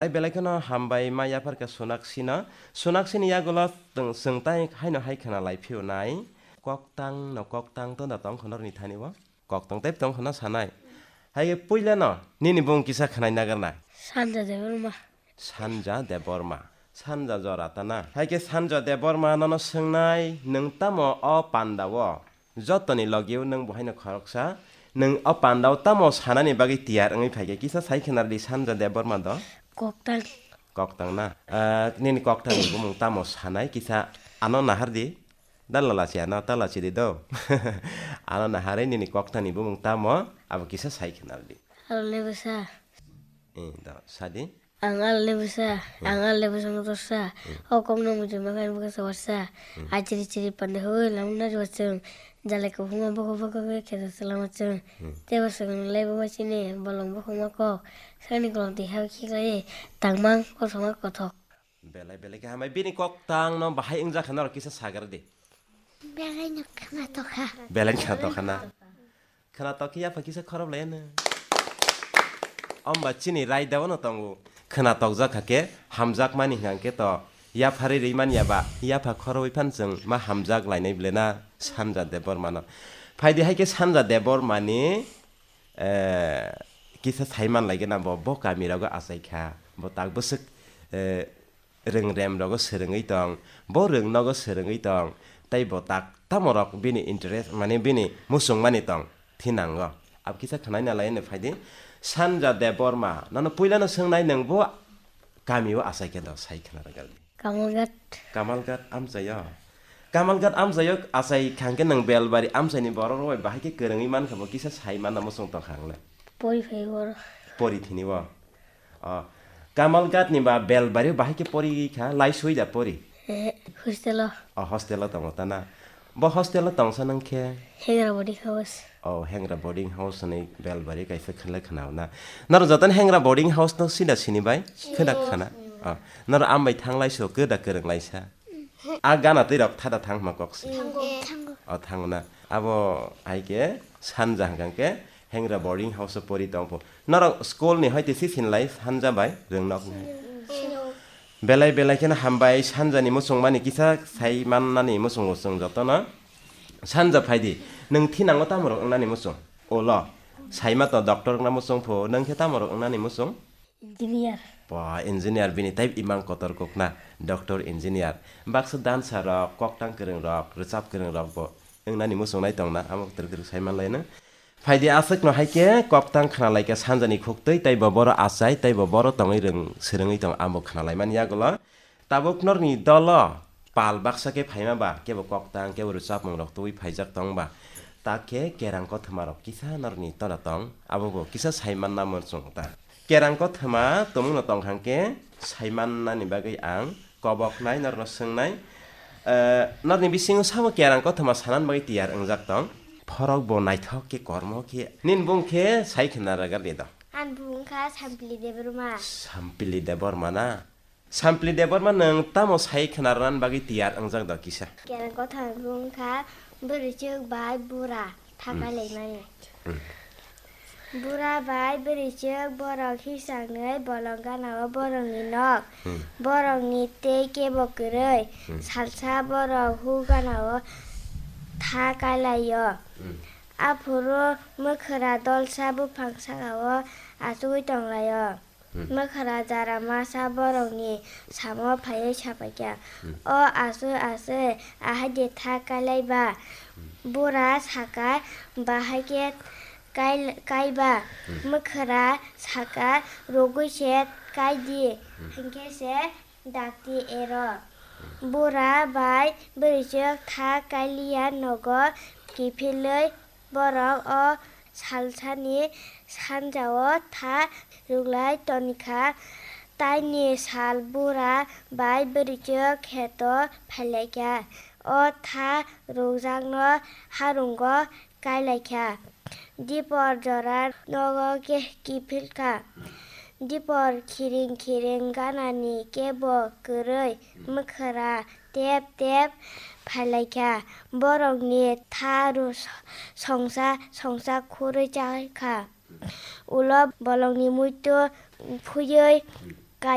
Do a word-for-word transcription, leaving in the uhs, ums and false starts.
Ai belai kheno hambai ma yapharkha Sonaksino. Sonaksini yagulo chwng, chwng tai haino hai khna lai phio nai. Koktang no koktang tong da tong khno rwni thani bo. Koktang tei tong khno sanai. Hai khe puila no nini bung kisa khnai nagar nai. Sanja Debbarma. Sanja Debbarma. Sanja jora ta na. Hai khe Sanja Debbarma nono swngnai, nwng tamo o panda o? Jotoni logi o nwng bo haino khoroksa. Nwng o panda o tamo sanani bagwi tiyar wngwi phai khe kisa sai khna rwdi Sanja Debbarma do. Koktang. Koktang na. Ah, nini koktang ni bumung tamo sanai kisa ano nahar di. Dalala si ano tala si di do. Ano naharwi nini koktang ni bumung tamo abo kisa sai khna rwdi. Alo le bwsa. Eh, do, sadi. Ang al le bwsa, ang al le bwsa motor sa. O kok no muchung ma khan bwsa warsa. A chiri chiri pande hoi lam na ro chwng. Jale ko huma bokho bokho khe khe sa lama chwng. Te bwsa no le bwsa chini bolong bokho ma kok. Sani kolom ti ha khi khlai tangmang kothoma kothok. Belai belai khe hambai bini koktang no bahai wngjakha norok kisa sagar di. Belai no khna tokha. Belai khna tokha na. Khna tok khe yapha kisa khorop lai no. Omba chini raida no tongo. Khna tokjak kha khe hamjak mani hwnkha khe to yapha ri ri man ya ba yapha khoroi phan chwng ma hamjak lainai ble na Sanja Debbarma no. Phaidi hai khe Sanja Debbarma ni, eh, kisa sai man lai gana bo, bo kami rogo achai kha. Bo tak bwswk, eh, rwng rem rogo swrwngwi tong, bo rwng nogo swrwngwi tong, tei bo tak tamo rok bini interest, mane bini muchung mani tong thinango. Ab kisa khwnai na lai no phaidi, Sanja Debbarma, nono puila no swngnai nwng bo kami o achai khe do sai khna rwgal di. Kamalghat. Kamalghat amchai o. Kamalghat amchai o achai khang khe nwng Belbari amchai ni borok rok bai bahai khe kwrwngwi man kha bo kisa sai man na muchung tong kha ang le. Pori phai oro. Pori thini o. O, Kamalghat ni ba Belbari bahai khe pori kha, lai sui da pori? Eh, hostel o. O, hostel o tongo ta na? Bo hostel o tongsa nang khe? Hengra boarding house. O, Hengra boarding house ni Belbari kaisa khle khna na. Naro joton Hengra boarding house no sida sini bai? Kheda khana. O, naro ambai thang lai so keda kwrwng lai sa. A gana twi rok thada thang ma kok si. Thango. Thango. O, thango na. Abo hai khe Sanja hwnkha khe Hengra boarding house o pori tong pho. Norok school ni hoite si sinlai Sanja bai rwngnok ni. Belai belai kheno hambai Sanja ni muchung mani kisa sai mannani muchungo chwng jotono. Sanja phaidi, nwng thinango tamo rok wngnani muchung? Olo, saima to doctor wngna muchung pho, nwng khe tamo rok wngnani muchung? Engineer. Ba, engineer bini type imang kotor kokna, doctor engineer. Baksa dansa rok, koktang kwrwng rok, rwchap kwrwng rok bo wngnani muchung nai tongna, amo kwtwrwk kwtwrwk sai manlai no. Phaidi aswkno hai khe koktang khna lai kha Sanjani khuktwi, tei bo boro achai, tei bo boro tongwi rwng swrwngwi tong, amo khna lai mani yagulo. Tabuk norni dolo pal baksa khe phaima ba, kebo koktang, kebo rwchapmung rok tubui phaijak tong ba, ta khe kerang kothoma rok kisa norni tola tong, abo bo kisa sai manna muchung ta. Kerang kothoma tongmungno tong hang khe sai mannani bagwi ang koboknai norno swngnai. Eh, norni bisingo sabo kerang kothoma sanani bagwi tiyar wngjak tong? Phorok bo naithok khe kormo khe. Nini bung khe sai khna rwgadi do. Ani bung wngkha Sampili Debbarma. Sampili Debbarma na? Sampili Debbarma nwng tamo sai khna rwna bagwi tiyar wngjak do kisa? Kerang kothoma bung wngkha bwrwichwk bai bura thakai laimani. Hmm. Bura bai bwrwichwk borok hisangwi bolong ganao borokni nok. Hmm. Borokni tei kebo kwrwi. Hmm. Salsa borok hu ganao thakai laio. Hmm. Aphuru mwkhra dolsa buphang sakao achugwi tonglaio. Hmm. Mwkhra jara masa borokni samo phaiwi sapaikha, hmm, "O aswk aswk, ahai de tha kailai ba?" Hmm. Bura saka, "Bahai khe kai, kai ba?" Hmm. Mwkhra saka, "Rwgwi se kai di, hmm, hinkhe se dakti ero." Hmm. Bura bai bwrwichwk tha kailiya nogo kiphilwi Borok o salsani sanjao tha rwglai toni kha. Taini sal bura bai bwrwichwk kheto phailaikha. O tha rwgjakno harungo kailaikha. Dipor jora nogo ke-, kiphilkha. Dipor khiring khiring ganani kebo kwrwi mwkhra tep tep phailaikha. Borokni tha rw songsa songsa khurwi chakha. Ulo bolongni muitu phuiwi